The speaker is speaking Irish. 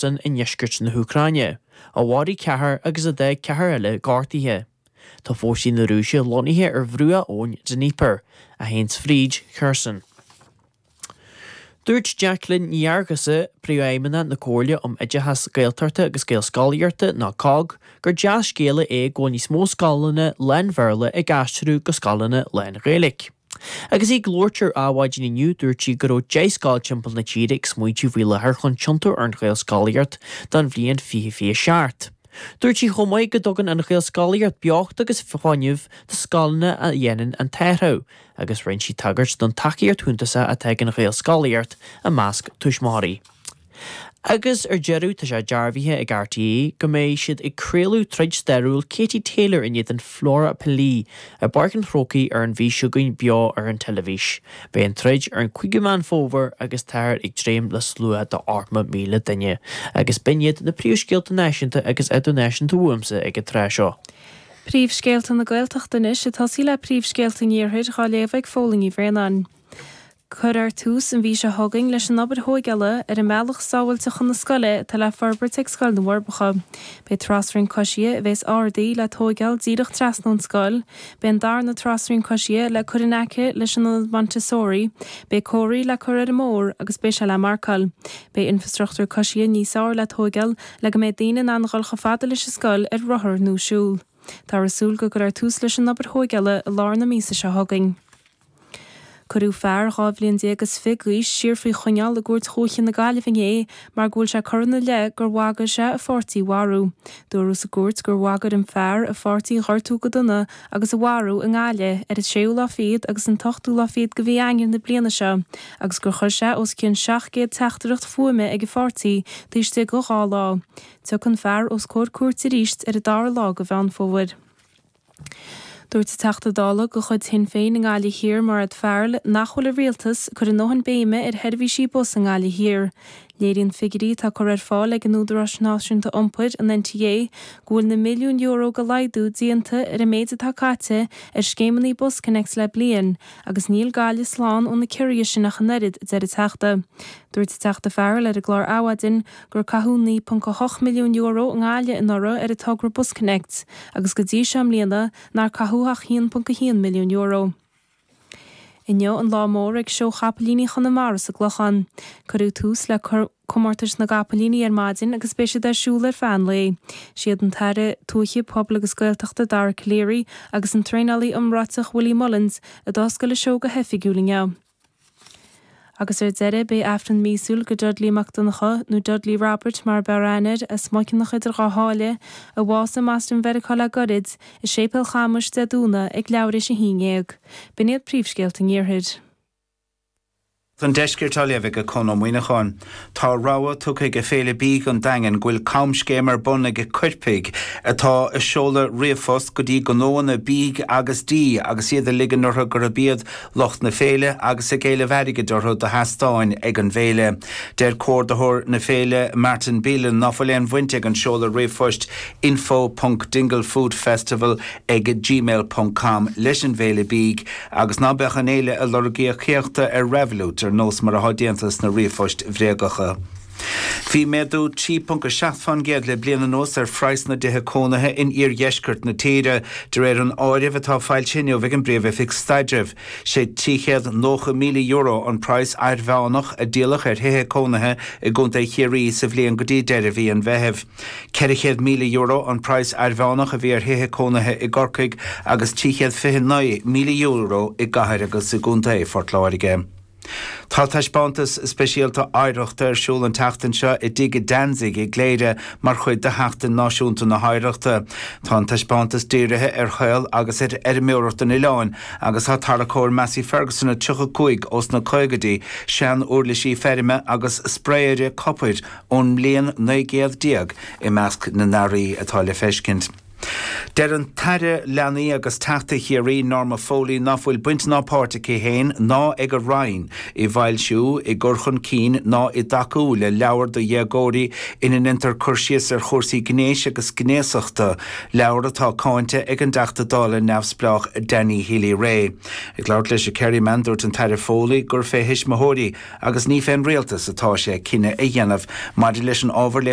I ndeisceart na hÚcráine, a mharaigh ceathrar agus a d'fhág ceathrar eile gortaithe. Tá fórsaí na Rúise lonnaithe ar bhruach abhainn Dnieper, a théanns fríd Kherson. Dúirt Jacqueline Ní Fhearghusa, Príomhfheidhmeannach na Comhairle um Oideachas Gaeltachta agus Gaelscolaíochta, nó cogg, gur dea-scéala é go bhfuil níos mó scoileanna lán-Bhéarla ag aistriú go scoileanna lán-Ghaeilge. Agus í ag labhairt ar Adhmhaidin inniu, dúirt sí go raibh 10 scoil timpeall na tíre ag smaointiú faoi láthair chun tiontú ar an Ghaelscolaíocht don bhliain 2027. Dúirt sí chomh maith go dtugann an Ghaelscolaíocht beocht agus fuinneamh do scoileanna a dhéanann an t-athrú agus rinne sí tagairt don tacaíocht shuntasach atá ag an Ghaelscolaíocht i measc tuismitheoirí. Agus ar deireadh, tá sé dearbhaithe ag RTÉ go mbeidh siad ag craoladh troid stairiúil Katie Taylor in éadan Flora Pili i bPáirc an Chrócaigh ar an mhí seo chugainn beo ar an teilifís. Beidh an troid ar an 5ú Meán Fómhair agus táthar ag dréim le slua de 80,000 duine. Agus b'in iad na príomhscéalta náisiúnta agus idirnáisiúnta uaimse ag an tráth seo. Príomhscéalta na Gaeltachta anois, ag tosaí le príomhscéalta an Iarthair, dhá léamh ag Fódhla Ní Bhraonáin. Cuirfear tús an mhí seo chugainn leis an obair thóigeála ar an mbealach sábháilte chun na scoile atá le forbairt ag Scoil na bhForbacha. Beidh trasrian coisithe a bhéas ardaithe le tóigeáil díreach trasna ón scoil, beidh an darna trasrian coisithe le cur in aice leis an ionad Montessori, beidh comharthaí le cur ar an mbóthar agus beidh sé le marcáil. Beidh infreastruchtúr coisithe níos fearr le tóigeáil le go mbeidh daoine in ann a dhul chomh fada leis an scoil ar rothar nó siúl. Táthar ag súil go gcuirfear tús leis an obair thóigeála i lár na míosa seo chugainn. Cuireadh fear 12 bhliain is fiche d'aois siar faoi choinneáil i gCúirt Dhúiche na Gaillimhe inné mar go bhfuil sé curtha ina leith gur bhagair sé a pháirtí a mharú. Dúradh sa gcúirt gur bhagair an fear a pháirtí a ghortú go dona agus a mharú i nGaillimh ar an séú lá fichead agus an t-ochtú lá fichead de mhí Eanáir na bliana seo agus gur chuir sé os cionn 700 teachtaireacht fuaime ag a pháirtí taobh istigh de dhá lá. Tiocfaidh an fear os comhair cúirte arís ar an dara lá de Mheán Fómhair. Dúirt an Teachta Dála de chuid Shinn Féin i nGaillimh Thiar, Mairéad Farrell, nach bhfuil an Rialtas ag cur a ndóthain béime ar sheirbhísí bus i nGaillimh Thiar. Léiríonn figiúirí atá curtha ar fáil ag an Údarás Náisiúnta Iompair, an NTA, go bhfuil na milliúin euro de laghdú déanta ar an méid atá caite ar scéimeanna BusConnects le bliain agus níl Gaillimh slán ó na ciorruithe sin ach an oiread, a deir an Teachta. Dúirt an Teachta Farrell ar an gclár Adhmhaidin gur caitheadh €9.8 milliún i nGaillimh anuraidh ar an togra BusConnects agus go dtí seo i mbliana nár caitheadh ach €1.1 milliún. Inniu an lá mór ag Seó Chapaillíní Chonamara sa gClochán. Cuireadh tús le comórtais na gcapaillíní ar maidin agus beidh siad ar siúl ar feadh an lae. Siad an tAire Tuaithe, Pobail agus Gaeltachta Dara Calleary agus an traenálaí iomráiteach Willie Mullins a d'oscail an seó go hoifigiúil inniu. Agus ar deireadh, beidh Aifreann míosúil do Dudley Mac Donncha, nó Dudley Robert mar ab fhearr aithne air, as Muiceanach idir Dhá Sháile, a bhásaigh i mBoston Mheiriceá le goirid, i Séipéal Chamuis Dé Domhnaigh ag leathuair théis a haon dhéag. B'in iad príomhscéalta an Iarthair. An Deiscirt á léamh ag Conn Ó Muíneacháin. Tá rabhadh tugtha ag Féile Bídh an Daingin go bhfuil camscéim ar bun ag coirpigh atá ag seoladh ríomhphost go dtí gnóanna bídh agus dí agus iad ag ligean orthu gurb iad lucht na féile agus ag éileamh airgid orthu do sheastáin ag an bhféile. Deir comhordaitheoir na féile Martin Bealin ná fuil aon bhaint ag an seoladh ríomhphoist info ponc dinglefoodfestival ag gmail ponc com leis an bhféile bídh agus ná beadh an fhéile ag lorg íocaíochta ar Revolut ar nós mar atá déanta sna ríomhphoist bhréagacha. Bhí méadú 3.7% le bliain anuas ar phraghas na dtithe cónaithe in iardheisceart na tíre, de réir an áirimh atá foilsithe inniu ag an bPríomh-Oifig Staidrimh. Sé €390,000 an praghas airmheánach a díoladh ar thithe cónaithe i gContae Chiarraí sa bhliain go dtí deireadh mhí an Mheithimh. €400,000 an praghas airmheánach a bhí ar thithe cónaithe i gCorcaigh agus €329,000 i gcathair agus i gContae Phort Láirge. Tá taispeántas speisialta oidhreachta ar siúl an tseachtain seo i dTigh Danzig i gCléire mar chuid de Sheachtain Náisiúnta na hOidhreachta. Tá an taispeántas dírithe ar shaol agus ar fheirmeoireacht an oileáin agus tá tarracóir Massey Ferguson 35 ós na caogaidí, sean-uirlisí feirme agus spraeire copair ón mbliain 19 céad i measc na n-earraí atá le feiscint. Deir an tAire Leanaí agus Teachta Chiarraí Norma Foley ná fuil baint ná páirt aici féin ná ag a Roinn i bhfoilsiú, i gcur chun cinn ná i dtacú le leabhar do dhéagóirí ina ndéantar cur síos ar chúrsaí gnéis agus gnéasachta, leabhar atá cáinte ag an dTeachta Dála neamhspleách Danny Healy-Rae. Ag labhairt leis an Kerryman, dúirt an tAire Foley gur fé thuismitheoirí agus ní fén rialtas atá sé cinneadh a dhéanamh maidir leis an ábhar léitheoireachta.